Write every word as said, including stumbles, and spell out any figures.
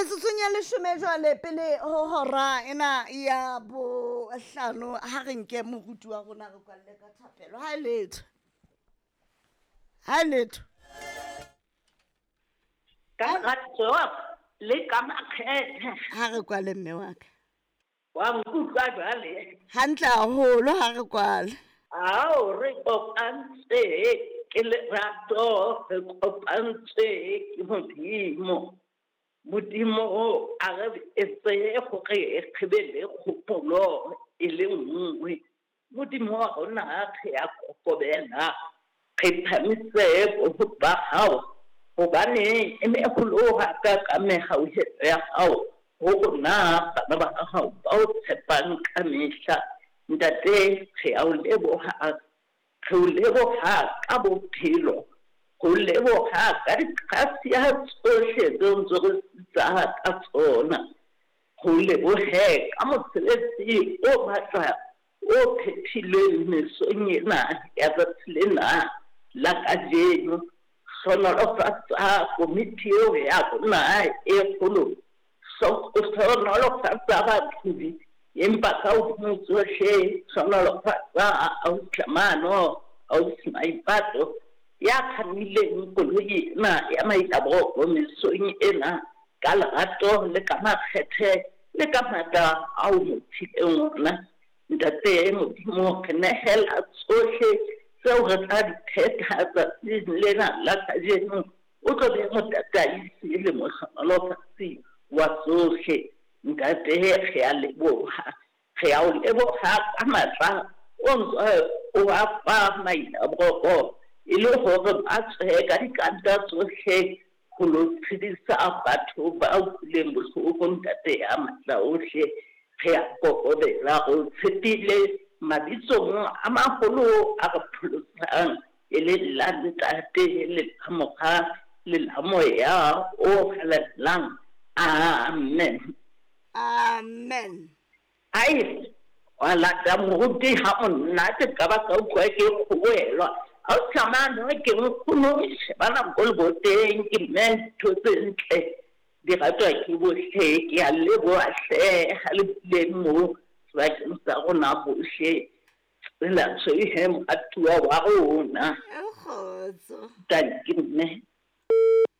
Metsotsong ya leshome jwale pele ho hora ena ya bohlano, ha re nke moruti wa rona re kwalle ka thapelo. Ha e letho, ha e letho. Ka lerato le ka makgethe. Ha re kwale mme wa ka. Wa nkutlwa jwale? Hantle haholo, ha re kwale. Ao, re kopantse ke lerato, re kopantse ke Modimo. Modimo a re etse gore re be le kgopolo e le nngwe. Modimo wa rona re a kokobela, re phamise boholo ba hao, hobane e meholo hakaka mehauhelo ya hao ho rona bana ba hao ba o tshepang ka mehla. Ntate, re a o leboha, re o leboha ka bophelo, ho leboha ka diqhasia tsohle tseo ntse re sitsa ka tsona. Ho lebohe ka mosebetsi o matla o phethilweng mesong ena ya tsatsi lena la kajeno. Hlohonolofatsa komiti eo ya rona e kgolo, hlohonolofatsa baqhobi, empa ka hodimo tsohle hlohonolofatsa ausi Tlamano, ausi Maipato ya kgannileng koloi ena ya Mailaboroko mesong ena ka lerato le ka makgethe le ka matla ao mo phileng ona. Ntate Modimo, re nehela tsohle tseo re tla di phetha tsatsing lena la kajeno. O tlo be motataisi le mohlohonolofatsi wa tsohle. Ntate, re a leboha, re a o leboha ka matla o ntse o a fa Mailaboroko e le hore ba tswe ka dikanta tsohle ho lo tshedisa batho ba utlwileng bohloko. Ntate ya matla ohle, re a kokobela, re o tshepile mabitsong a maholo a re pholosang, e le la Ntate le la Mora le la Moya o Halalelang. Amen. Amen. Ai, wa lata moruti ha monate ka ba ka utlwa ke kgoboelwa. Ha o tsamaya ke nkgono shebana ko leboteng, ke mme ntho tse ntle di ratwa ke bohle. Ke a leboha hle ha le bileng moo sebakeng sa rona bohle. Tsela tshweu he moratuwa wa rona. Kgotso. Tanki mme.